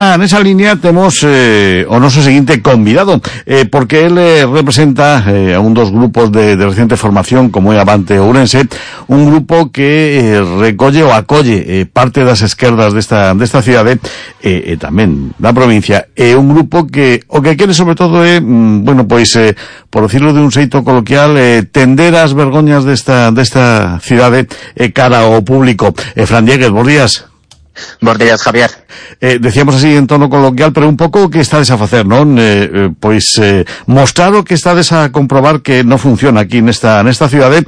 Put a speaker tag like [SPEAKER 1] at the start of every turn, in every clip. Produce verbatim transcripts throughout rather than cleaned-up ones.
[SPEAKER 1] Nesa línea temos eh, o noso seguinte convidado, eh, porque él eh, representa eh, a un dos grupos de, de reciente formación, como é Avante Ourense, un grupo que eh, recolle ou acolle eh, parte das esquerdas desta, desta cidade, e eh, eh, tamén da provincia, é eh, un grupo que o que quere sobre todo é, mm, bueno, pois, eh, por decirlo de un xeito coloquial, eh, tender as vergoñas desta, desta cidade eh, cara ao público. Eh, Fran Dieguez, bons días.
[SPEAKER 2] Bos días, Javier.
[SPEAKER 1] Eh, decíamos así en tono coloquial, pero un pouco o que estades a facer, non? Eh, eh, pois eh, mostrar o que estades a comprobar que non funciona aquí nesta nesta cidade,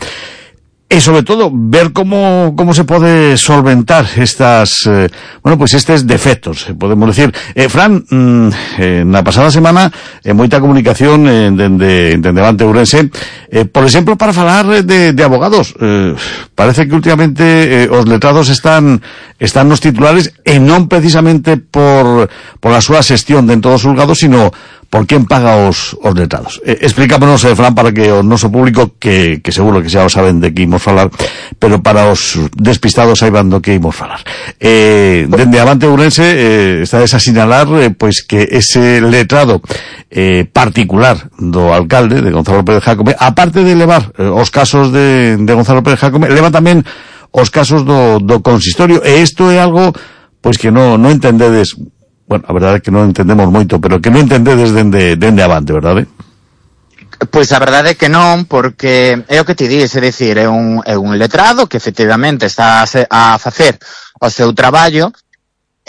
[SPEAKER 1] e sobre todo ver como como se pode solventar estas eh, bueno, pois estes defectos, podemos decir. Eh, Fran, mm, eh, na pasada semana eh, moita comunicación eh, dende dende Avante Ourense, eh, por exemplo, para falar de, de abogados. Eh, parece que últimamente eh, os letrados están están nos titulares, e non precisamente por por a súa xestión dentro dos xulgados, sino por quen paga os, os letrados. Eh, explícamonos, eh, Fran, para que o noso público, que, que seguro que xa o saben de que imos falar, pero para os despistados saiban do que imos falar. Eh, dende Avante Ourense eh, está a sinalar eh, pois que ese letrado eh, particular do alcalde, de Gonzalo Pérez Jácome, aparte de levar eh, os casos de, de Gonzalo Pérez Jácome, leva tamén os casos do, do consistorio, e isto é algo pois que non no entendedes. Bueno, a verdade é que non entendemos moito, pero que non entendedes dende, dende Avante, verdade?
[SPEAKER 2] Pois a verdade é que non, porque é o que ti dis, é dicir, é un, é un letrado que efectivamente está a, se, a facer o seu traballo,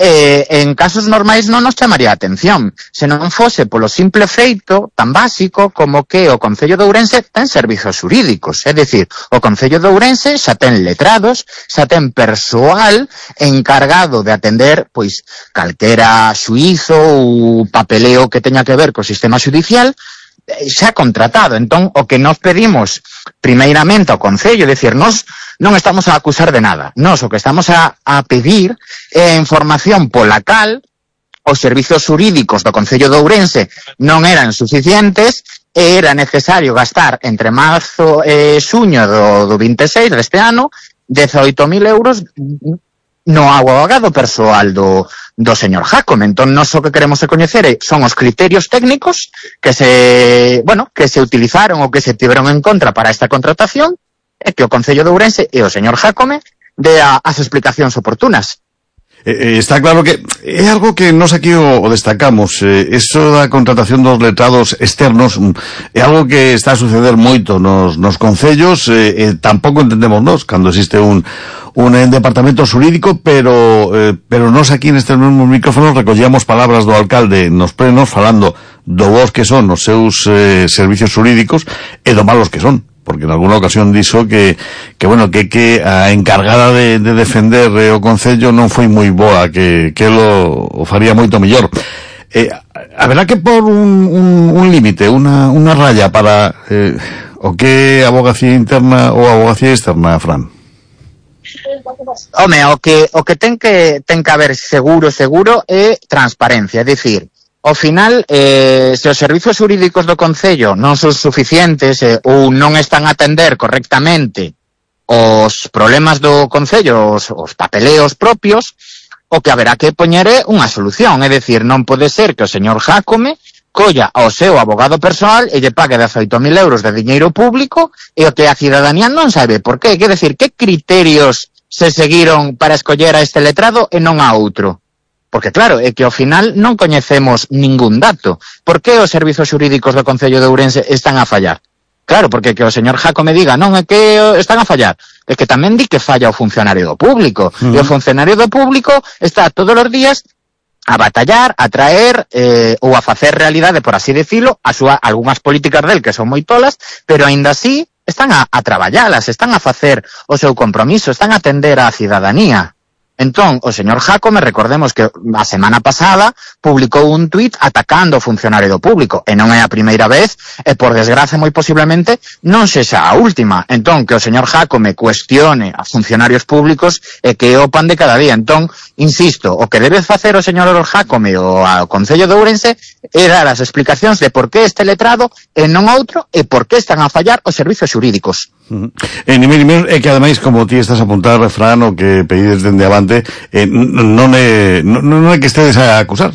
[SPEAKER 2] e en casos normais non nos chamaría a atención, se non fose polo simple feito tan básico como que o Concello de Ourense ten servizos xurídicos, é dicir, o Concello de Ourense xa ten letrados, xa ten persoal encargado de atender pois calquera xuízo ou papeleo que teña que ver co sistema xudicial, xa contratado. Entón, o que nos pedimos primeiramente ao Concello, é dicir, nos non estamos a acusar de nada, nos o que estamos a, a pedir é información pola cal os servizos xurídicos do Concello de Ourense non eran suficientes e era necesario gastar entre marzo e xuño do, do vinte e seis deste ano dezaoito mil euros no abogado persoal do, do señor Jácome. Entón, nós o que queremos coñecer son os criterios técnicos que se, bueno, que se utilizaron ou que se tiveron en contra para esta contratación, e que o Concello de Ourense e o señor Jácome dea as explicacións oportunas.
[SPEAKER 1] Eh, está claro que é algo que nos aquí o, o destacamos. Eh, eso da contratación dos letrados externos é algo que está a suceder moito nos, nos concellos. Eh, eh, tampouco entendemos nos cando existe un un departamento xurídico, pero eh, pero nos aquí nestes mesmos micrófonos recollíamos palabras do alcalde nos plenos falando do bons que son os seus eh, servicios xurídicos e do malos que son, porque en alguna ocasión dixo que, que bueno, que, que a encargada de, de defender eh, o Concello non foi moi boa, que, que lo o faría moito mellor. Eh, a verdad que por un, un, un límite, unha, unha raya para eh, o que é abogacía interna ou abogacía externa, Fran?
[SPEAKER 2] Home, o que, o que ten que ten que haber seguro, seguro é transparencia, é dicir, ao final, eh, se os servizos xurídicos do Concello non son suficientes eh, ou non están a atender correctamente os problemas do Concello, os, os papeleos propios, o que haberá que poñer é unha solución. É dicir, non pode ser que o señor Jácome colla ao seu abogado persoal e lle pague dezaoito mil euros de diñeiro público e o que a cidadanía non sabe por qué. Quer decir, que criterios se seguiron para escoller a este letrado e non a outro? Porque claro, é que ao final non coñecemos ningún dato. Por que os servizos xurídicos do Concello de Ourense están a fallar? Claro, porque que o señor Jácome diga non é que están a fallar, é que tamén di que falla o funcionario do público. Uh-huh. E o funcionario do público está todos os días a batallar, a traer eh, ou a facer realidade, por así decirlo, a súa, algunhas políticas del que son moi tolas, pero aínda así están a, a traballalas, están a facer o seu compromiso, están a atender á cidadanía. Entón, o señor Jácome, recordemos que a semana pasada publicou un tuit atacando o funcionario do público, e non é a primeira vez, e por desgraza moi posiblemente non sexa a última. Entón, que o señor Jácome cuestione a funcionarios públicos e que é o pan de cada día. Entón, insisto, o que debe facer o señor Jácome ou ao Concello de Ourense é dar as explicacións de por que este letrado e non outro, e por que están a fallar os servizos xurídicos.
[SPEAKER 1] E ni menos menos é que ademais, como ti estás a apuntar, Fran, o que pedides dende avante, eh, non é non, non é que estedes a acusar,